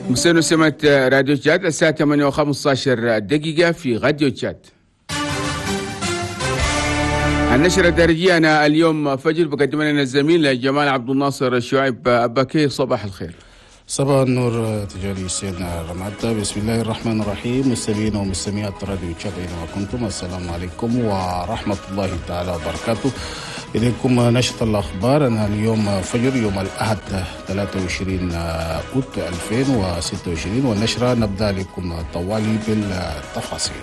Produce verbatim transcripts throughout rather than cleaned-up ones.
مسنو سمة راديو تشاد الساعة ثمانية وخمسة عشر دقيقة في راديو تشاد. النشرة الدارجية أنا اليوم فجر بقدم لنا الزميل جمال عبد الناصر شعيب أباكي. صباح الخير. صباح النور تجاري سيدنا رمادة. بسم الله الرحمن الرحيم. مستمعين ومستمعات راديو تشاد أينما كنتم، السلام عليكم ورحمة الله تعالى وبركاته. إليكم نشرة الأخبار. أنا اليوم فجر يوم الأحد ثلاثة وعشرين أوت ألفين وستة وعشرين، والنشرة نبدأ لكم طوالي بالتفاصيل.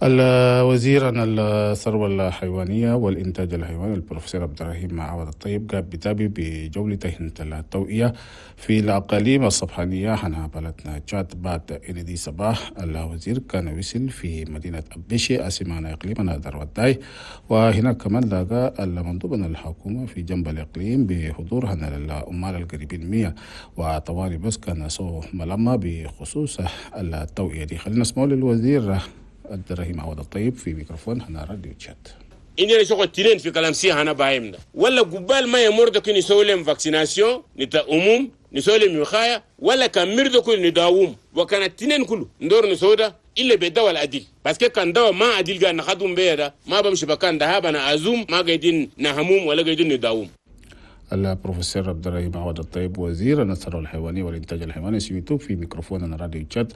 الوزير عن الثروة الحيوانية والإنتاج الحيواني البروفيسور عبد الرحيم عوض الطيب قام بتابع بجولته التوعية في الأقاليم الصبحانية هنا بلدنا تشاد بعد إلى صباح. الوزير كان وصل في مدينة أبيشي أسمانا إقليمنا دروتاي، وهناك كمان لقى المندوب من الحكومة في جنب الإقليم بحضور هنا العمال القريبين مية وطوالي بس كان سو ملمة بخصوص التوعية دي. خلينا نسمع للوزير عبد الرحيم عوض الطيب في ميكروفون هنا راديو تشاد. إني شغل تنين في كلام سي هنا بايمنا ولا قبال ما يمر دكين يسوي لهم vaccination نتا أموم نسوي لهم وقاية ولا كان مر دكين نداوم وكان التنين كله ندور نسودا إلا بدواء العديل بس كان دواء ما عديل قال نخدم بيه ده ما بمشي بكان ده أنا أزوم ما قاعدين نهموم ولا قاعدين نداوم. البروفيسور عبد الرحيم عوض الطيب وزير الثروة الحيوانية والإنتاج الحيواني سميتو في ميكروفون راديو تشاد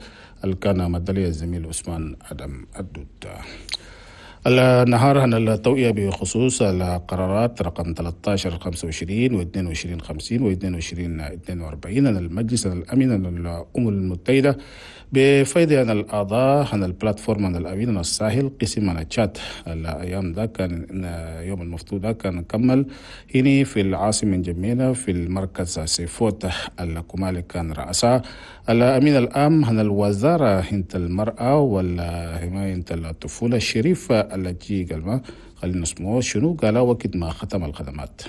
كان مدلي الزميل عثمان أدم الدود. النهار هنا التوعية بخصوص القرارات رقم ثلاثة عشر خمسة وعشرين و اثنين وعشرين خمسين و اثنين وعشرين اثنين وأربعين عن المجلس الأمين للأمم المتحدة بفائدة عن الأعضاء عن ال plateforme عن الأمين عن الساحل قسم عن تشاد. الأيام ده كان يوم المفتوح ده كان كمل هنا في العاصمة جميلة في المركز سيفوت الكمالي كان رأسا الأمين العام عن الوزارة هنت المرأة والحماية الطفولة الشريف التي قال خلينا نسمعه شنو قال وقت ما ختم الخدمات.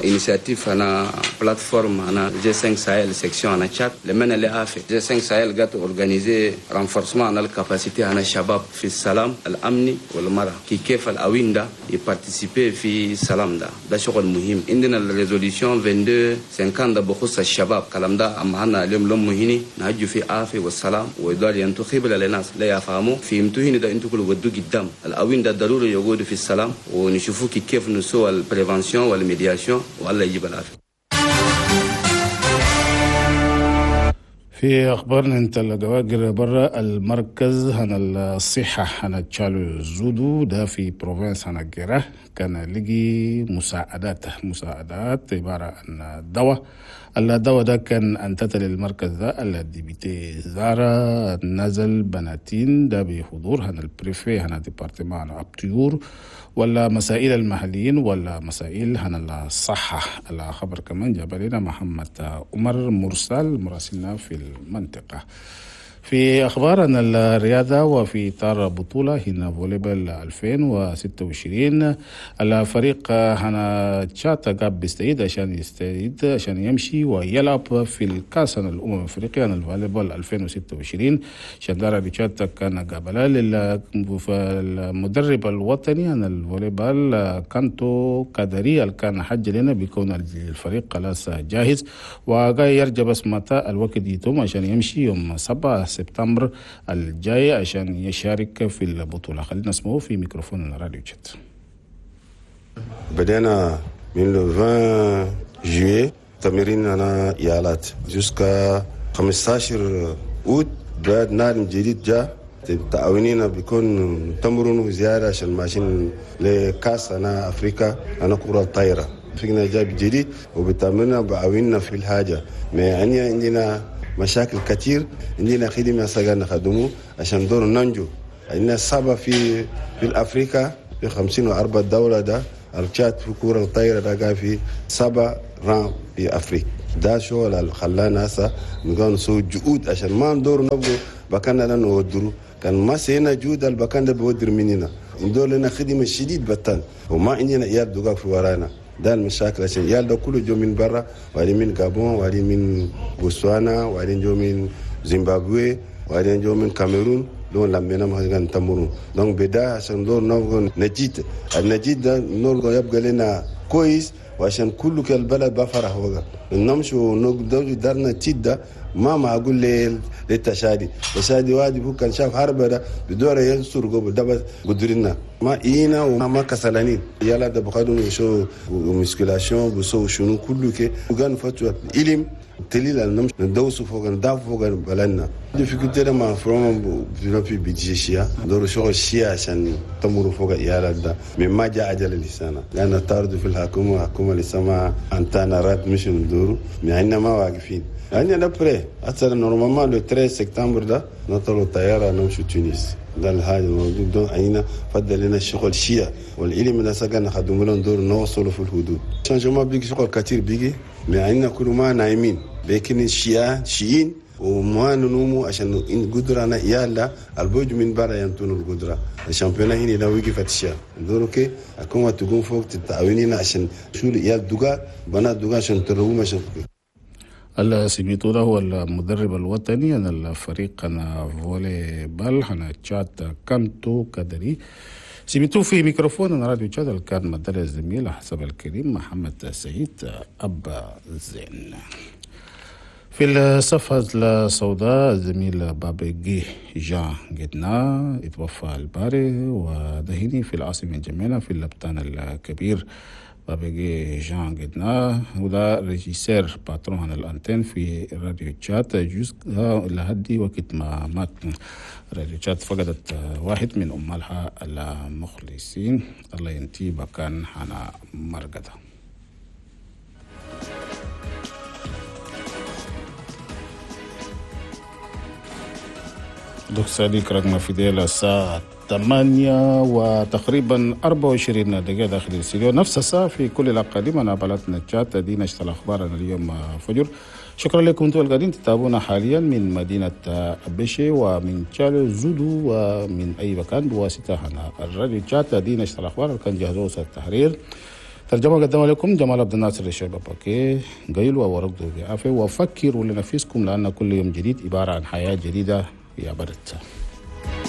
Initiative أنا plateforme أنا جي خمسة Sahel section أنا تشاد لمن اللي عافي جي خمسة Sahel قاعد organiser renforcement أنا ال capacité أنا الشباب في السلام الأمني والمرأة كي كيف الأوين ده ي participer في السلام ده ده شغل مهم. عندنا ال résolution اثنين وعشرين خمسين ده بخصوص الشباب كلام ده أما أنا اليوم لهم مهني نهجوا في عافية والسلام ويدار ينتخب للناس لا يفهموا في امتهني ده انتوا كل ودوا قدام الأوين ده ضروري يقعدوا في السلام ونشوفوا كي كيف نسوى ال prévention وال médiation والله يجيب العافية. في أخبارنا انت الجواجر برا المركز هنا الصحة هنا تشالو زودو ده في province هنا جيرة كان لقي مساعدات مساعدات عبارة عن دواء. الدواء ده كان انتت للمركز ده ال député زارا نزل بناتين ده بحضور هنا ال préfet هنا département أبتيور ولا مسائل المحليين ولا مسائل هنا الصحة. الخبر كمان جاب لنا محمد عمر مرسل مراسلنا في المنطقة. في أخبار عن الرياضة وفي إطار بطولة هنا volleyball ألفين وستة وعشرين الفريق هنا تشاد قاب بيستعيد عشان يستعيد عشان يمشي ويلعب في الكاس الأمم الأفريقية عن ال volleyball ألفين وستة وعشرين. شندارة تشاد كان قابلة للمدرب الوطني عن ال volleyball كانتو كادري اللي كان حج لنا بيكون الفريق خلاص جاهز وجاي يرجع بس متى الوقت يتم عشان يمشي يوم سبعة سبتمبر الجاي عشان يشارك في البطولة. خلينا نسمعه في ميكروفون الراديو تشاد. بدأنا من عشرين juillet تمرين أنا يالات jusqu'à خمسة عشر أوت. بعد نادم جديد جاء تعاونينا بيكون تمرن زيادة عشان ماشيين لكاس أنا أفريقيا أنا كرة الطايرة فينا جاب جديد وبتمرنا بعاوننا في الحاجة. ما يعني عندنا مشاكل كتير، عندنا خدمة سجلنا خدمه عشان دور ننجو. عندنا سبعة في في أفريقيا في خمسين وأربعة دولة ده التشاد في كرة الطايرة ده قاعد في سبعة رام في أفريقيا. ده شغل اللي خلانا هسه نقول نسوي جهود عشان ما ندور نبغوا بكنا لا نودرو كان ما سينا جهود البكان ده بودر مننا ندور لنا خدمة شديد بتان وما عندنا إيال دقاق في ورانا. ده المشاكل عشان عيال ده كله جو من برا وبعدين من غابون وبعدين من بوتسوانا وبعدين جو من زيمبابوي وبعدين جو من كاميرون. دون لما ما كان تمرو donc بدا عشان دور نبغى نجيت النجيت ده نور يبقى لنا كويس وعشان كل البلد بفرح وقع نمشي ونقدر دارنا تيدا ما معقول للتشادي التشادي واجب هو كان شاف حرب ده بدور ينصر قبل ده بس قدرنا ما إينا وما كسلانين يلا ده بقدروا يشو musculation بسو شنو كله كي وكان فتوى إلم تليل نمشي ندوس فوق نداف فوق بلدنا difficulté ده ما فروم في بيجي شيا دور شغل شيا عشان تمر فوق يالا ده من ما جاء عجل لسانا لأن طارد في الحكومة حكومة لسه ما أنتنا رات مش ندورو يعني ما واقفين يعني après أصلا normalement le treize septembre ده نطلع الطيارة نمشي تونس ده الحاجة الموجود دون عينا فضل لنا الشغل شيا والعلم ده سكن خدموا لنا ندور نوصلوا في الحدود changement بيجي شغل كتير بيجي معنا كل ما نايمين لكن الشيا شيئين وما ننومو عشان إن قدرنا يلا البوج من برا ينتون القدرة ال championnat هنا لو وقفت الشيا ندورو كي أكون تقوم فوق تتعاونينا عشان شو يا دوغا بنات دوغا عشان تروم عشان السيميتو ده هو المدرب الوطني أنا الفريق أنا فولي بال أنا تشاد كانتو كدري سيميتو في ميكروفون أنا راديو تشاد كان مدرب الزميل حسب الكريم محمد سعيد أبا زين. في الصفحة السوداء الزميل بابيجي جان جدنا اتوفى الباري ودهيني في العاصمة جميلة في اللبتان الكبير. بابيجي جان جدنا وده régisseur patron عن ال antenne في راديو تشات جزء لهدي وقت ما مات. راديو تشات فقدت واحد من أمالها المخلصين، الله ينتي بكان حنا مرقده. دوك صديق رقم في ديال الساعة ثمانية وتقريبا أربعة وعشرين دقيقة داخل الاستديو، نفس الساعة في كل الأقاليم. أنا بلدنا تشات دي نشر الأخبار اليوم فجر. شكرا لكم انتم القاعدين تتابعونا حاليا من مدينة أبشي ومن تشالو زودو ومن أي مكان بواسطة هنا الراديو تشات دي نشر الأخبار. كان جهزوه التحرير ترجمة قدم لكم جمال عبد الناصر الشيبة باكي قيلوا ورقدوا بعافية وفكروا لنفسكم لأن كل يوم جديد عبارة عن حياة جديدة يا برد.